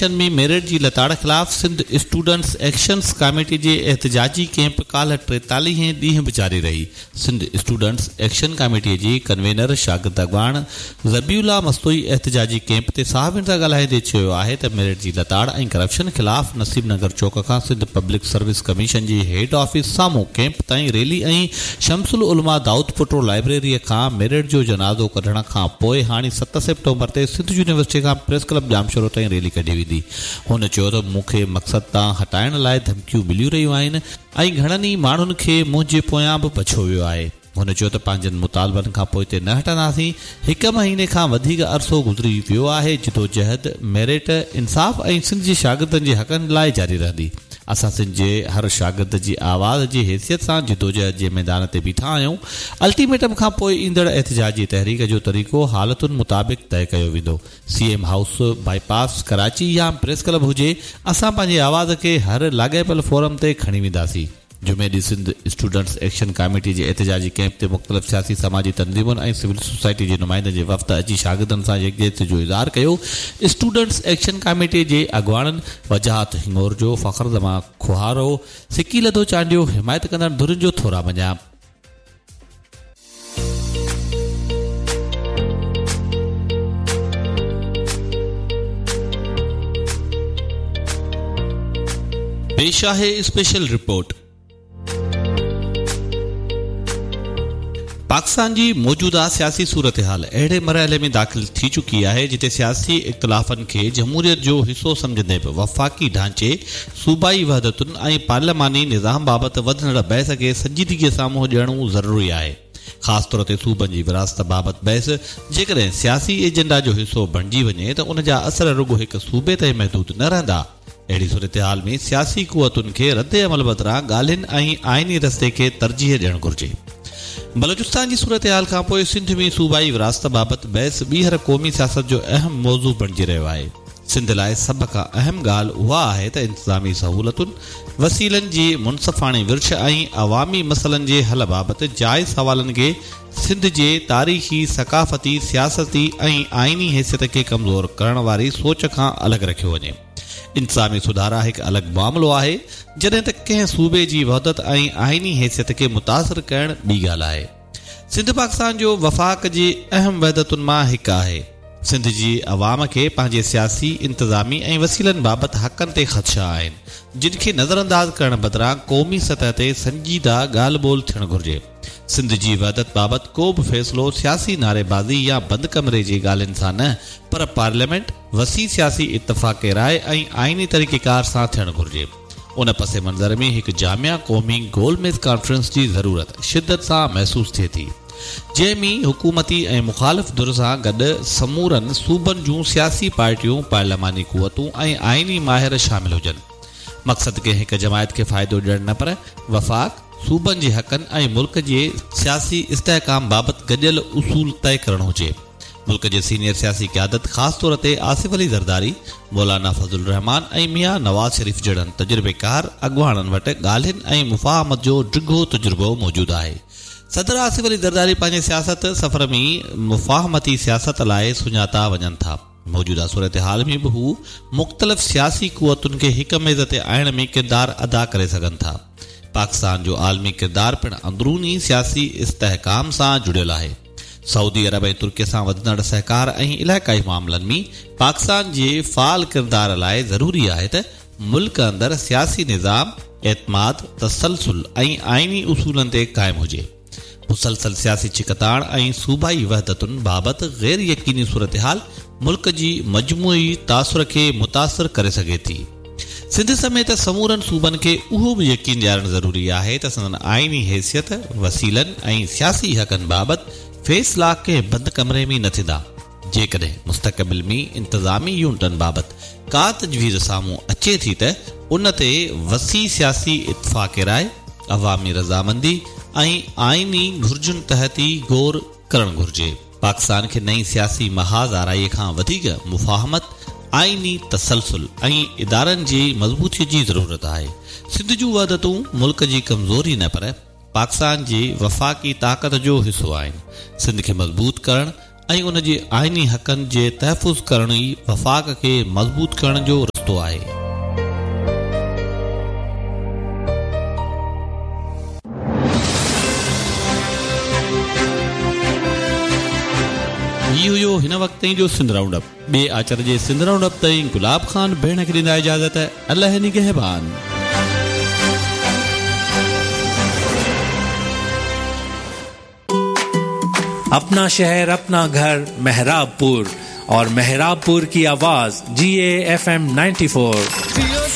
Commission ۾ merit جي لتاڙ خلاف سنڌ اسٽوڊنٽس ايڪشن ڪاميٽي جي احتجاجي ڪئمپ ڪالهه ٽيتاليهين ڏينهن به جاري رهي. سنڌ اسٽوڊنٽس ايڪشن ڪاميٽي جي ڪنوينر شاگرد اڳواڻ ذبيح الله مستوئي احتجاجي ڪئمپ تي صحافين سان ڳالهائيندي چيو آهي ته ميرٽ جي لتاڙ ۽ ڪرپشن خلاف نصيب نگر چوڪ کان سنڌ پبلڪ سروس ڪميشن جي هيڊ آفيس سامهون ڪئمپ تائين ريلي ۽ شمس العلماء دائودپوٽو لائبريري کان ميرٽ جو جنازو ڪڍڻ کان پوء هاڻي ست سيپٽمبر تي سنڌ يونيورسٽي کان پريس ڪلب ڄامشورو تائين ريلي ڪڍي ويندي. هن چيو ته مون کي مقصد تان هٽائڻ لاء ڌمڪيون مليون رهيون آهن ۽ گهڻن ئي ماڻهن کي منهنجي پويان به پڇيو ويو آهي. هن چيو ته پنهنجن مطالبن کان پوئتي نه هٽنداسين، هڪ مهيني کان وڌيڪ عرصو گذري ويو آهي، جدوجهد، ميرٽ، انصاف ۽ سنڌ جي شاگردن جي حقن لاء جاري رهندي. اسان سنڌ جي هر شاگرد جي آواز جي حيثيت سان جدوجهد جي ميدان تي بيٺا آهيون، الٽيميٽم کان پوء ايندڙ احتجاجي تحريڪ جو طريقو حالتن مطابق طئي ڪيو ويندو. C M house, bypass, Karachi يا پريس ڪلب هجي، اسان پنهنجي آواز کي هر لاڳاپيل فورم تي کڻي وينداسين. جمعي ڏينهن سنڌ اسٽوڊنٽس ايڪشن ڪاميٽي جي احتجاجي ڪئمپ تي مختلف سياسي سماجي تنظيمن ۽ سول سوسائٽي جي نمائندن جي وفد اچي شاگردن سان يڪجهتي جو اظهار ڪيو. اسٽوڊنٽس ايڪشن ڪاميٽي جي اڳواڻن وجاهت هڱورجو، فخر زمان کوهارو، سڪيلڌو چانڊيو حمايت ڪندڙ ڌرين جو ٿورا مڃيا. پيش آهي اسپيشل رپورٽ. پاڪستان جي موجوده سياسي صورتحال اهڙي مرحلي ۾ داخل ٿي چڪي آهي جتي سياسي اختلافن کي جمهوريت جو حصو سمجهندي به وفاقي ڍانچي، صوبائي وحدتن ۽ پارلياماني نظام بابت وڌندڙ بحث کي سنجيدگيء سان منهن ڏيڻو ضروري آهي. خاص طور تي صوبن جي ورهاست بابت بحث جيڪڏهن سياسي ايجنڊا جو حصو بڻجي وڃي ته ان جا اثر رڳو هڪ صوبي تائين محدود نه رهندا. اهڙي صورتحال ۾ سياسي قوتن کي رد عمل بدران ڳالهين ۽ آئيني رستي کي ترجيح ڏيڻ گهرجي. بلوچستان جي صورتحال کانپوء سنڌ ۾ صوبائي ورهاست بابت بحث ٻيهر قومي سياست جو اهم موضوع بڻجي رهيو آهي. سنڌ لاء سڀ کان اهم ڳالهه اها آهي ته انتظامي سهولتن، وسيلن جي منصفاڻي ورڇ ۽ عوامي مسئلن جي حل بابت جائز سوالن کي سنڌ جي تاريخي، ثقافتي، سياستي ۽ آئيني حيثيت کي ڪمزور ڪرڻ واري سوچ کان الڳ رکيو وڃي. انتظامي سڌارا هڪ الڳ معاملو آهي، جڏهن ته ڪنهن صوبي جي وحدت ۽ آئيني حيثيت کي متاثر ڪرڻ ٻي ڳالهه آهي. سنڌ پاڪستان جو وفاق جي اهم وحدتن مان هڪ آهي. سنڌ جي عوام کي پنهنجي سياسي، انتظامي ۽ وسيلن بابت حقن تي خدشا آهن، جن کي نظرانداز ڪرڻ بدران قومي سطح تي سنجيده ڳالهه ٻولهه ٿيڻ گهرجي. سنڌ جي وحدت بابت ڪو به فيصلو سياسي نعريبازي يا بند ڪمري جي ڳالهين سان نه پر پارليامينٽ، وسيع سياسي اتفاق راء ۽ آئيني طريقيڪار سان ٿيڻ گهرجي. ان پس منظر ۾ هڪ جامع قومي گول ميز ڪانفرنس جي ضرورت شدت سان محسوس ٿئي ٿي، جنهن ۾ حڪومتي ۽ مخالف ڌر سان گڏ سمورن صوبن جون سياسي پارٽيون، پارلياماني قوتون ۽ آئيني ماهر شامل هجن. مقصد ڪنهن هڪ جماعت کي فائدو ڏيڻ نه پر وفاق، صوبن جي حقن ۽ ملڪ جي سياسي استحڪام بابت گڏيل اصول طئي ڪرڻ هجي. ملڪ جي سينيئر سياسي قيادت خاص طور تي آصف علي زرداري، مولانا فضل الرحمان ۽ ميان نواز شريف جهڙن تجربيڪار اڳواڻن وٽ ڳالهين ۽ مفاهمت جو ڊگهو تجربو موجود آهي. صدر آصف علي زرداري پنهنجي سياست سفر ۾ مفاهمتي سياست لاء سڃاتا وڃن ٿا. موجوده صورتحال ۾ به هو مختلف سياسي قوتن کي هڪ ميز تي آڻڻ ۾ ڪردار ادا ڪري سگهن ٿا. پاڪستان جو عالمي ڪردار پڻ اندروني سياسي استحڪام سان جڙيل آهي. سعودي عرب ۽ ترڪي سان وڌندڙ سهڪار ۽ علائقائي معاملن ۾ پاڪستان جي فعال ڪردار لاء ضروري آهي ته ملڪ اندر سياسي نظام اعتماد، تسلسل ۽ آئيني اصولن تي قائم هجي. مسلسل سياسي ڇڪتاڻ ۽ صوبائي وحدتن بابت غير يقيني صورتحال ملڪ جي مجموعي تاثر کي متاثر ڪري سگهي ٿي. سنڌ سميت سمورن صوبن کي اهو به يقين ڏيارڻ ضروري آهي ته سندن آئيني حيثيت، وسيلن ۽ سياسي حقن بابت فيصلا ڪنهن بند ڪمري ۾ نه ٿيندا. جيڪڏهن مستقبل ۾ انتظامي يونٽن بابت ڪا تجويز سامهون اچي ٿي ته ان تي وسيع سياسي اتفاق راء، عوامي رضامندي ۽ آئيني گهرجن تحت ئي غور ڪرڻ گهرجي. پاڪستان کي نئين سياسي محاذ آرائي کان وڌيڪ مفاهمت، آئيني تسلسل ۽ ادارن جي مضبوطي جي ضرورت آهي. سنڌ جون وحدتون ملڪ جي ڪمزوري نه پر پاڪستان جي وفاقي طاقت جو حصو آهن. سنڌ کي مضبوط ڪرڻ ۽ ان جي آئيني حقن جي تحفظ ڪرڻ ئي وفاق کي مضبوط ڪرڻ جو رستو آهي. رستو آهي. هي هيو هن وقت تائين جو سنڌ رائونڊ اپ. ٻئي آچر جي سنڌ رائونڊ اپ تائين گلاب خان ڀيڻ کي ڏيندا اجازت الله نگهبان. अपना शहर अपना घर मेहराबपुर और मेहराबपुर की आवाज जी ए एफ एम 94।